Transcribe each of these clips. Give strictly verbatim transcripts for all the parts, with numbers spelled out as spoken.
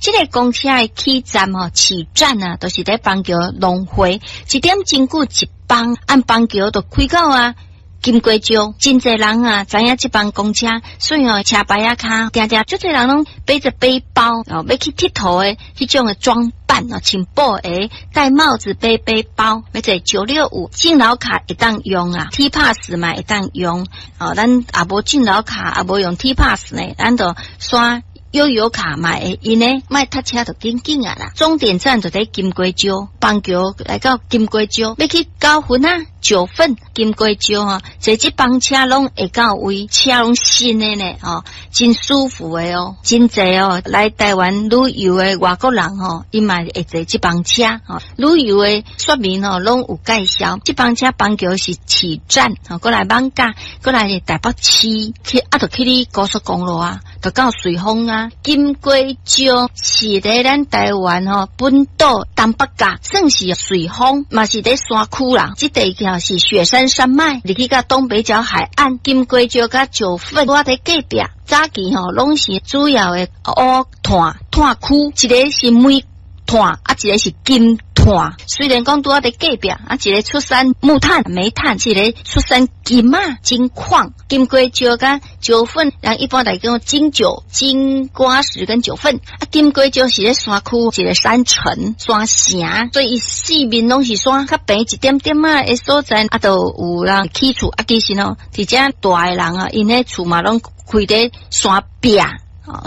這个公車的起站吼，起站啊，就是佇枋橋農會，一點鐘久一班，按枋橋就開到啊。金瓜石，真濟人啊，知影這班公車，所以哦，車牌仔跤，定定足濟人攏背著背包哦，欲去𨑨迌的彼種的裝扮哦，穿布鞋、戴帽子、背背包，欲坐九六五敬老卡會當用啊，T pass 嘛會當用哦，咱也無敬老卡，也無用 T pass 呢，咱就刷悠遊卡嘛會用呢，莫塞車就緊緊啊啦。終點站就佇金瓜石，枋橋來到金瓜石，欲去九份啊，九份金瓜石吼，坐這班車攏會到位，車攏新的呢，吼，真舒服的哦，真濟哦。來台灣旅遊的外國人吼，伊嘛會坐這班車吼。旅遊的說明吼，攏有介紹。這班車枋橋是起站，吼，過來艋舺，過來是台北市，去啊，就去你高速公路啊，就到瑞豐啊。金瓜石是佇咱台灣吼本島東北角，算是瑞豐，嘛是佇山區啦。這地區是雪山山脈，入去到東北角海岸，金瓜石佮九份，我佇隔壁。早期吼攏是主要的烏炭炭區，一个是煤炭，啊，一个是金炭。雖然講拄仔佇隔壁，啊，一个出產木炭、煤炭，一个出產金仔、金礦。金瓜石佮九份，人一般來講金九、金瓜石跟九份。啊，金瓜石是咧山區，一个山城、山城，所以伊四面攏是山，較平一點點仔的所在，啊，就有人起厝。啊，其實吼，佇遮蹛的人啊，𪜶彼厝嘛攏開佇山壁。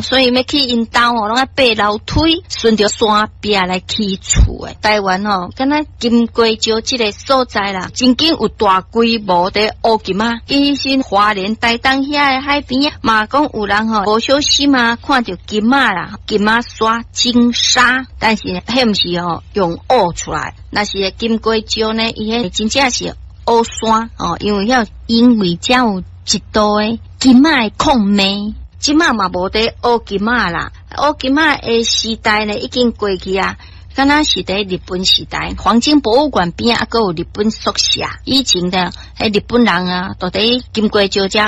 所以欲去𪜶兜哦，攏愛爬樓梯，順著山壁來起厝的。台灣吼，敢若金瓜石這个所在啦，曾經有大規模的烏金仔。其實花蓮、台東遐的海邊嘛，講有人吼無小心啊，看著金仔啦，金仔沙、金沙，但是彼毋是吼用挖出來，若是金瓜石呢，伊彼真正是烏山哦，因為遐因為遮有一度的金仔的礦脈。這馬嘛無佇挖金仔啦，挖金仔的時代呢已經過去啊，敢若是佇日本時代，黃金博物館邊仔猶閣有日本宿舍。以前的彼日本人啊，都佇金瓜石遮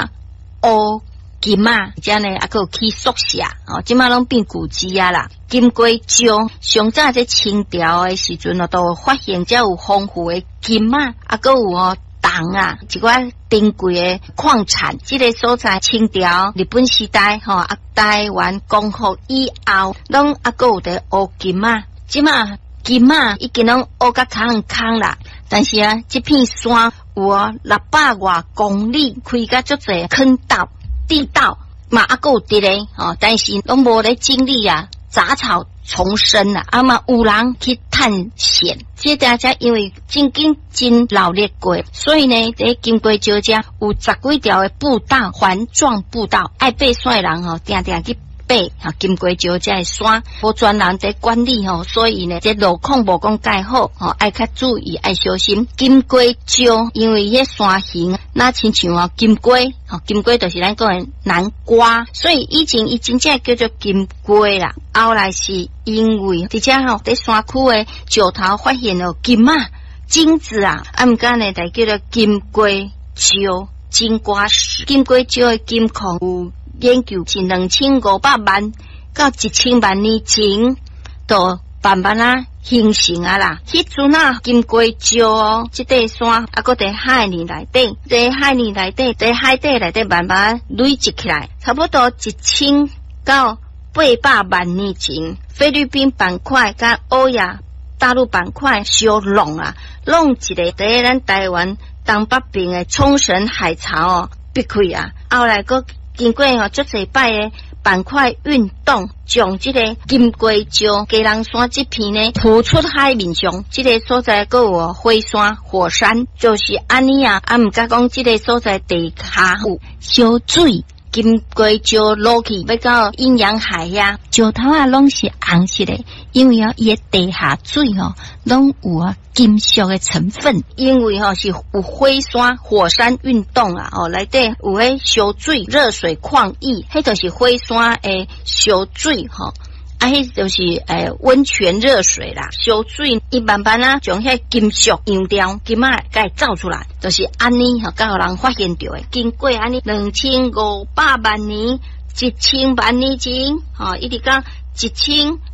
挖金仔，遮呢猶閣有起宿舍哦，這馬攏變舊址啊啦。金瓜石上早這清朝的時陣哦，都發現遮有豐富的金仔，猶閣有哦。銅啊，一寡珍貴的礦產，這个所在清朝、日本時代吼啊，台灣光復以後，攏猶閣有佇挖金仔。這馬金仔已經攏挖甲空空啦，但是啊，這片山有六百外公里，開甲足濟坑道、地道，嘛猶閣有佇咧吼，但是攏無咧整理啊，雜草叢生啊，啊嘛有人去探險。這大家因為曾經真鬧熱過，所以呢，佇金瓜石遮有十幾條的步道，環狀步道，愛爬山的人吼，定定去爬金瓜石這个山，無專人佇管理吼，所以呢，這路況無講蓋好吼，愛較注意，愛小心。金瓜石因為彼山形，若親像啊金瓜，吼金瓜就是咱講的南瓜，所以以前伊真正叫做金瓜啦。後來是因為佇遮吼佇山區的石頭發現了金仔、金子啊，啊毋過呢，就叫做金瓜石、金瓜石。金瓜石的金礦有研究是兩千五百萬到一千萬年前，就慢慢仔形成啊啦。彼陣啊，金瓜石哦，這塊山啊，閣佇海裡內底，佇海裡內底，佇海底內底慢慢累積起來，差不多一千到八百萬年前，菲律賓板塊佮歐亞大陸板塊相挵啊，挵一个佇咱台灣東北邊的沖繩海槽哦，逼開啊，後來閣經過吼足濟擺的板塊運動，將這个金瓜石基隆山這片呢浮出海面上。這个所在閣有火山、火山，就是按呢啊。啊，毋過講這个所在地下有燒水。金瓜石落去，欲到陰陽海遐，石頭仔攏是紅色的，因為哦，伊的地下水吼攏有啊金屬的成分，因為吼是有火山、火山運動啊，哦內底有彼燒水、熱水礦液，彼就是火山的燒水吼。啊，彼就是欸溫泉熱水啦，燒水伊慢慢啊將彼金屬溶掉，金仔共伊走出來，就是按呢吼，共予人發現著的。經過按呢兩千五百萬年、一千萬年前，吼，一直到一千到